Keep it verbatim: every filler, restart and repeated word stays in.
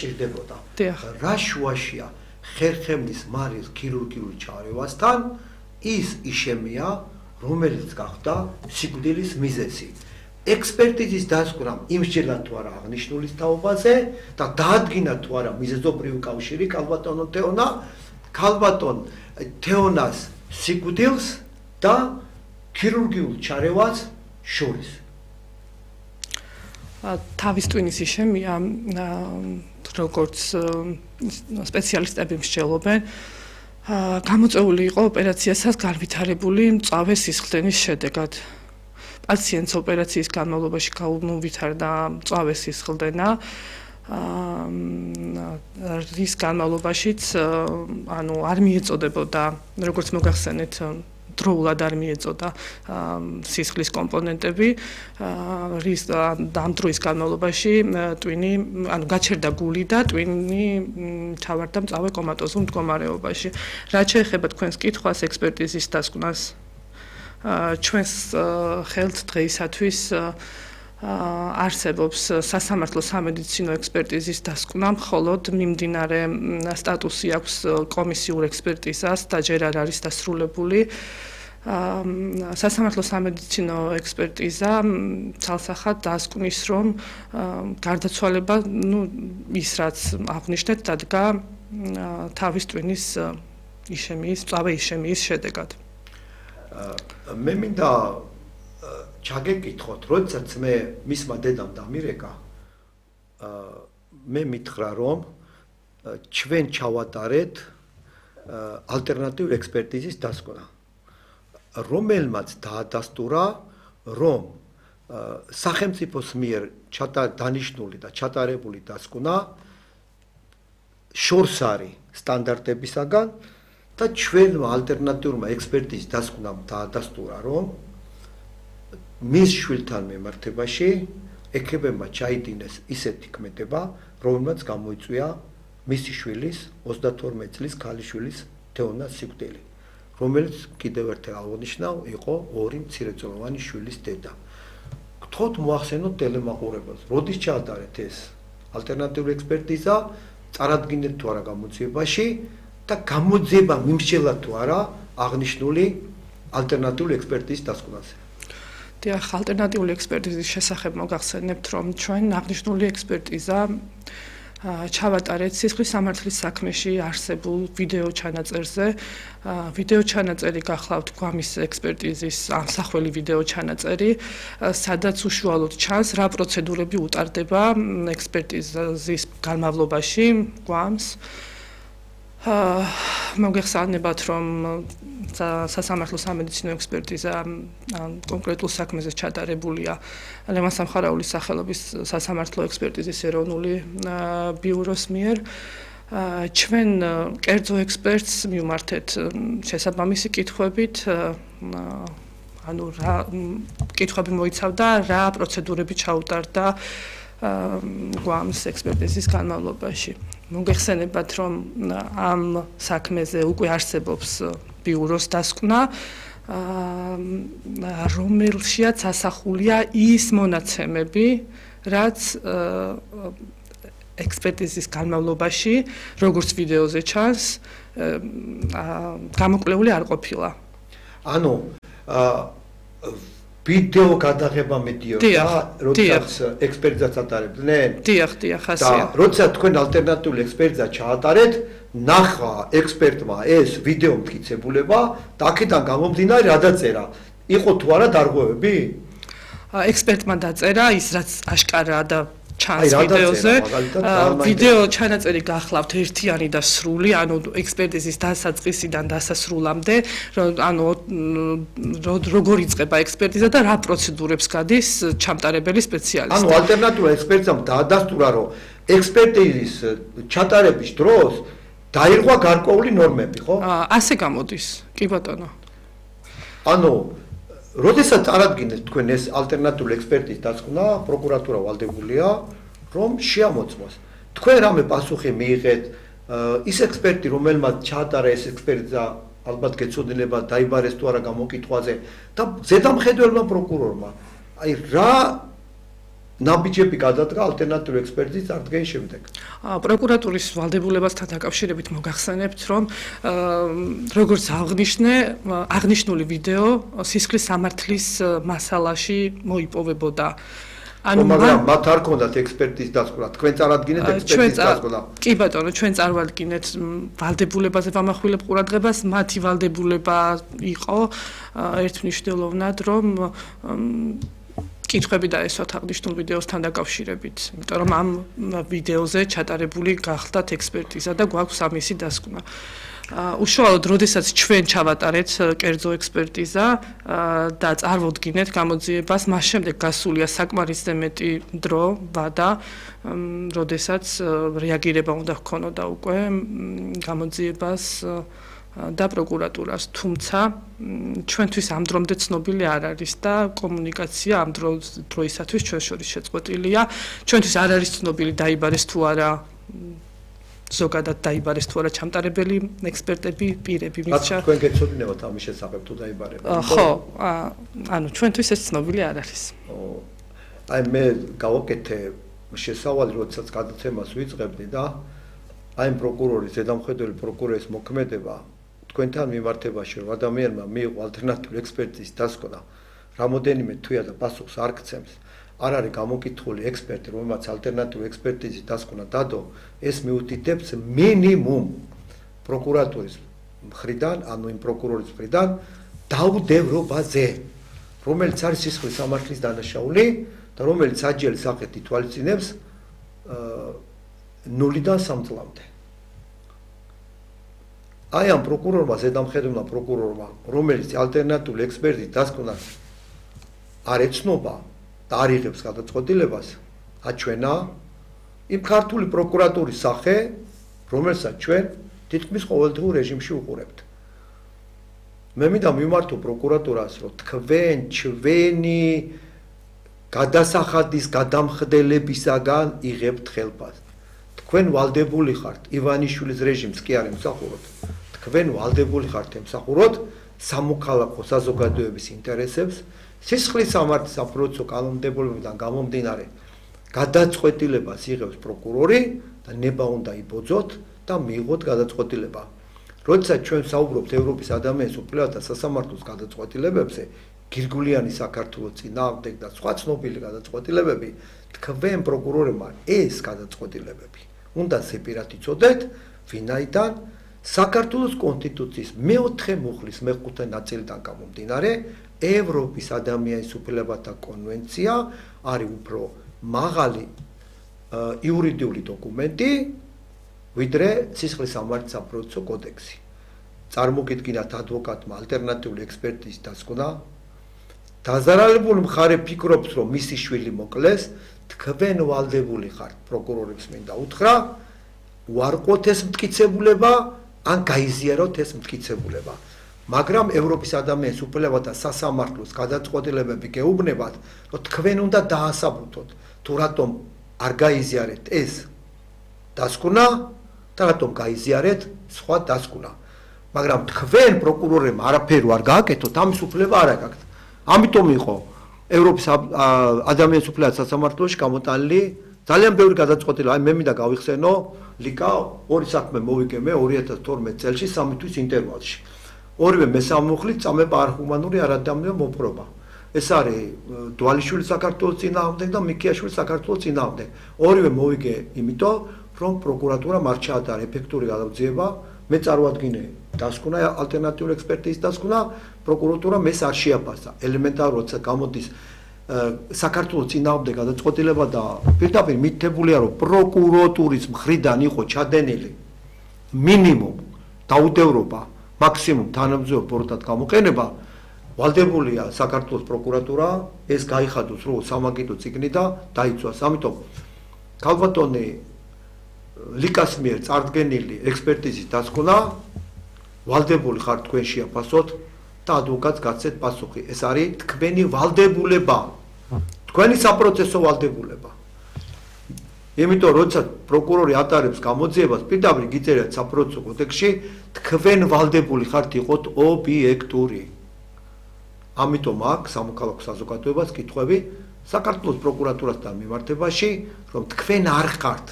ჭირდებოდა. რა შუაშია ხერხემლის მარის ქირურგიული ჩარევასთან ის იშემია, რომელიც გახდა სიკვდილის მიზეზი. ექსპერტიზის დასკვნამ იმსჯელა თუ არა აღნიშნულის თაობაზე და დაადგინა თუ არა მიზეზობრივი კავშირი ქალბატონო თეონა, ქალბატონ თეონას სიკვდილს და ქირურგიულ ჩარევას შორის. თავის ტვინის იშემია, როგორც სპეციალისტები მსჯელობენ, გამოწვეული იყო ოპერაციასაც განვითარებული მწვავე სისხლდენის შედეგად. პაციენტს ოპერაციის განმავლობაში გაუვითარდა მწვავე სისხლდენა, რის განმავლობაშიც ანუ არ მიეწოდებოდა, როგორც მოგახსენეთ, დროულად არ მიეწოდა სისხლის კომპონენტები, რის ამ დროის განმავლობაში ტვინი, ანუ გაჩერდა გული და ტვინი ჩავარდა მწვავე კომატოზულ მდგომარეობაში. რაც შეეხება თქვენს კითხვას ექსპერტიზის დასკვნას, ჩვენს ხელთ დღეისათვის არსებობს სასამართლო სამედიცინო ექსპერტიზის დასკვნა, მხოლოდ მიმდინარე სტატუსი აქვს კომისიურ ექსპერტიზას და ჯერ არ არის დასრულებული. სასამართლო სამედიცინო ექსპერტიზა ცალსახად დასკვნის, რომ გარდაცვალება, ну, ის რაც აღნიშნეთ, დადგა თავის ტვინის იშემიის, მწვავე იშემიის შედეგად. მე მინდა ჩაგეკითხოთ, როდესაც მე მისმა დედამ დამირეკა, მე მითხრა, რომ ჩვენ ჩავატარეთ ალტერნატიულ ექსპერტიზის დასკვნა, რომელმაც დაადასტურა, რომ სახელმწიფოს მიერ დანიშნული და ჩატარებული დასკვნა შორს არის სტანდარტებისაგან და ჩვენმა ალტერნატიულმა ექსპერტიზის დასკვნამ დაადასტურა, რომ მის შვილთან მიმართებაში ექებებმა ჩაიდინეს ისეთი ქმედება, რომელმაც გამოიწვია მისი შვილის ოცდათორმეტ წლის ქალიშვილის თეონას სიკვდილი, რომელიც კიდევ ერთხელ აღნიშნავ, იყო ორი მცირეწლოვანი შვილის დედა. გთხოვთ მოახსენოთ ტელემაყურებელს, როდის ჩაატარეთ ეს ალტერნატიული ექსპერტიზა, წარადგინეთ თუ არა გამოძიებაში და გამოძიება მიმსჯელა თუ არა აღნიშნული ალტერნატიული ექსპერტიზის დასკვნაზე. დიახ, ალტერნატიული ექსპერტიზის შესახებ მოგახსენებთ, რომ ჩვენ აღნიშნული ექსპერტიზა ჩავატარეთ სისხლის სამართლის საქმეში არსებულ ვიდეო ჩანაწერზე. ვიდეო ჩანაწერი გახლავთ გვამის ექსპერტიზის ამსახველი ვიდეო ჩანაწერი, სადაც უშუალოდ ჩანს, რა პროცედურები უტარდება ექსპერტიზის განმავლობაში გვამს. მოგეხსენებათ, რომ სასამართლო სამედიცინო ექსპერტიზა კონკრეტულ საქმეზე ჩატარებულია ლევან სამხარაულის სახელობის სასამართლო ექსპერტიზის ეროვნული ბიუროს მიერ. ჩვენ კერძო ექსპერტს მივმართეთ შესაბამისი კითხვებით, ანუ რა კითხვები მოიცავდა, რა პროცედურები ჩაუტარდა გვამს ექსპერტიზის განმავლობაში. მოგეხსენებათ, რომ ამ საქმეზე უკვე არსებობს ბიუროს დასკვნა, რომელშიაც ასახულია ის მონაცემები, რაც ექსპერტიზის განმავლობაში, როგორც ვიდეოზე ჩანს, გამოკვლეული არ ყოფილა. ანუ ვიდეო გადაღება მედიოდა, როდესაც ექსპერტიზას ატარებდნენ? დიახ, დიახ, ასეა. და როდესაც თქვენ ალტერნატიული ექსპერტიზა ჩაატარეთ, ნახა ექსპერტმა ეს ვიდეო მტკიცებულება და აქედან გამომდინარე რა დაწერა? იყო თუ არა დარღვევები? ექსპერტმა დაწერა ის, რაც აშკარაა და ჩანს ვიდეოზე. ვიდეო ჩანაწერი გახლავთ ერთიანი და სრული, ანუ ექსპერტიზის დასაწყისიდან დასასრულამდე, ანუ როგორ იწყება ექსპერტიზა და რა პროცედურებს გადის ჩამტარებელი სპეციალისტი. ანუ ალტერნატიულ ექსპერტიზამ დაადასტურა, რომ ექსპერტიზის ჩატარების დროს დაირღვა გარკვეული ნორმები, ხო? ასე გამოდის, კი ბატონო. ანუ როდესაც წარადგინეთ თქვენ ეს ალტერნატიული ექსპერტიზის დასკვნა, პროკურატურა ვალდებულია, რომ შეამოწმოს. თქვენ რამე პასუხი მიიღეთ, ის ექსპერტი, რომელმაც ჩაატარა ეს ექსპერტიზა, ალბათ გეცოდინება დაიბარეს თუ არა გამოკითხვაზე და ზედამხედველმა პროკურორმა, აი რა ნაბიჯები გადადგა ალტერნატიული ექსპერტიზის წარდგენის შემდეგ. პროკურატურის ვალდებულებასთან დაკავშირებით მოგახსენებთ, რომ როგორც აღნიშნე, აღნიშნული ვიდეო სისხლის სამართლის მასალაში მოიპოვებოდა. ანუ მაგრამ მათ არ ქონდათ ექსპერტიზის დასკვნა, თქვენ წარადგინეთ ექსპერტიზის დასკვნა. კი ბატონო, ჩვენ წარვადგინეთ ვალდებულებაზე ვამახვილებ ყურადღებას, მათი ვალდებულება იყო ერთმნიშვნელოვნად, რომ კითხვები დაესვათ აღნიშნულ ვიდეოსთან დაკავშირებით, იმიტომ რომ ამ ვიდეოზე ჩატარებული გახდათ ექსპერტიზა და გვაქვს ამისი დასკვნა. უშუალოდ როდესაც ჩვენ ჩავატარეთ კერძო ექსპერტიზა და წარმოვდგინეთ გამოძიებას, მას შემდეგ გასულია საკმარისზე მეტი დრო, ვადა, როდესაც რეაგირება უნდა ჰქონოდა უკვე გამოძიებას და პროკურატურას, თუმცა ჩვენთვის ამ დრომდე ცნობილი არ არის და კომუნიკაცია ამ დროისათვის ჩვენ შორის შეწყვეტილია. ჩვენთვის არ არის ცნობილი დაიბარეს თუ არა ზოგადად დაიბარეს თუ არა ჩამტარებელი ექსპერტები, პირები, მისცა. თქვენ გეცოდინებათ ამის შესახებ თუ დაიბარება? ხო, ანუ ჩვენთვის ეს ცნობილი არ არის. აი მე გავაკეთე შესავალი, როდესაც გადაცემას ვიწყებდი და აი პროკურორის, ზედამხედველი პროკურორის მოქმედება თქვენთან მიმართებაში, რომ ადამიანმა მიიღო ალტერნატიული ექსპერტიზის დასკვნა, რამოდენიმე თვეა და პასუხს არ გცემს. არ არის გამოკითხული ექსპერტი, რომელმაც ალტერნატიული ექსპერტიზის დასკვნა დადო, ეს მიუთითებს მინიმუმ პროკურატურის მხრიდან, ანუ იმ პროკურორის მხრიდან დაუდევრობაზე, რომელიც არის სისხლის სამართლის დანაშაული და რომელიც საჯიერი სახით ითვალისწინებს ნულიდან სამ წლამდე. აი ამ პროკურორმა, ზედამხედველმა პროკურორმა, რომელიც ალტერნატიული ექსპერტიზის დასკვნას არ ეცნობა და არ იღებს გადაწყვეტილებას, აჩვენა იმ ქართული პროკურატურის სახე, რომელსაც ჩვენ თითქმის ყოველდღიურ რეჟიმში უყურებთ. მე მინდა მიმართო პროკურატურას, რომ თქვენ ჩვენი გადასახადის გადამხდელებისაგან იღებთ ხელფას. თქვენ ვალდებული ხართ ივანიშვილის რეჟიმს კი არ ემსახუროთ. თქვენ ვალდებული ხართ ემსახუროთ სამოქალაქო საზოგადოების ინტერესებს, სისხლის სამართლის საპროცესო კანონმდებლობიდან გამომდინარე გადაწყვეტილებას იღებს პროკურორი და ნება უნდა იბოძოთ და მიიღოთ გადაწყვეტილება. როდესაც ჩვენ საუბრობთ ევროპის ადამიანის უფლებათა სასამართლოს გადაწყვეტილებებზე, გირგულიანი საქართველოს წინააღმდეგ და სხვა ცნობილი გადაწყვეტილებები, თქვენ პროკურორებმა ეს გადაწყვეტილებები უნდა სეპირად იცოდეთ, ვინაიდან საქართველოს კონსტიტუციის მეოთხე მუხლის მეხუთე ნაწილიდან გამომდინარე, ევროპის ადამიანის უფლებათა კონვენცია არის უფრო მაღალი იურიდიული დოკუმენტი, ვიდრე სისხლის სამართლის საპროცესო კოდექსი. წარმოგიდგინათ ადვოკატმა ალტერნატიული ექსპერტიზის დასკვნა, დაზარალებული მხარე ფიქრობს, რომ მისი შვილი მოკლეს, თქვენ ვალდებული ხართ პროკურორებს მინდა უთხრა, უარყოთ ეს მტკიცებულება, ან გაიზიაროთ ეს მტკიცებულება. მაგრამ ევროპის ადამიანის უფლებათა სასამართლოს გადაწყვეტილებები გეუბნებათ, რომ თქვენ უნდა დაასაბუთოთ, თუ რატომ არ გაიზიარეთ ეს დასკვნა და რატომ გაიზიარეთ სხვა დასკვნა. მაგრამ თქვენ პროკურორებმა არაფერი არ გააკეთოთ, ამის უფლება არ აქვს. ამიტომ იყო ევროპის ადამიანის უფლებათა სასამართლოში გამოტანილი ძალიან ბევრი გადაწყვეტილება. აი მე მინდა გავიხსენო, ლიკა ორი საქმე მოვიგე მე ორი ათას თორმეტ წელში სამი თვის ინტერვალში. ორივე მესამუხლით წამება არჰუმანური არადამნია მოპყრობა. ეს არის დვალიშვილი საქართველოს წინააღმდეგ და მიქიაშვილი საქართველოს წინააღმდეგ. ორივე მოვიგე იმიტომ, რომ პროკურატურამ არ ჩაატარა ეფექტური გადაღწიება, მე წარვადგინე დასკვნა, ალტერნატიული ექსპერტიზის დასკვნა, პროკურატურამ ეს არ შეაფასა. ელემენტარულად გამოდის საქართველოს წინააღმდეგ გადაწყვეტილება და პირდაპირ მითითებულია, რომ პროკურატურის მხრიდან იყო ჩადენილი მინიმუმ დაუდევრობა, მაქსიმუმ თანამდებობ ბოროტად გამოყენება, ვალდებულია საქართველოს პროკურატურა ეს გაიხადოს რო სამაგიდო წიგნი და დაიცვას. ამიტომ ქალბატონი ლიკას მიერ წარდგენილი ექსპერტიზის დასკვნა ვალდებული ხართ თქვენ შეაფასოთ და ადვოკატს გაცეთ პასუხი. ეს არის თქვენი ვალდებულება, თქვენი საპროცესო ვალდებულება. იმიტომ როდესაც პროკურორი ატარებს გამოძიებას, პირდაპირ გიწერეთ საპროცესო კოდექსში, თქვენ ვალდებული ხართ იყოთ ობიექტური. ამიტომ აქ სამოქალაქო საზოგადოებას კითხვები საქართველოს პროკურატურასთან მიმართებაში, რომ თქვენ არ ხართ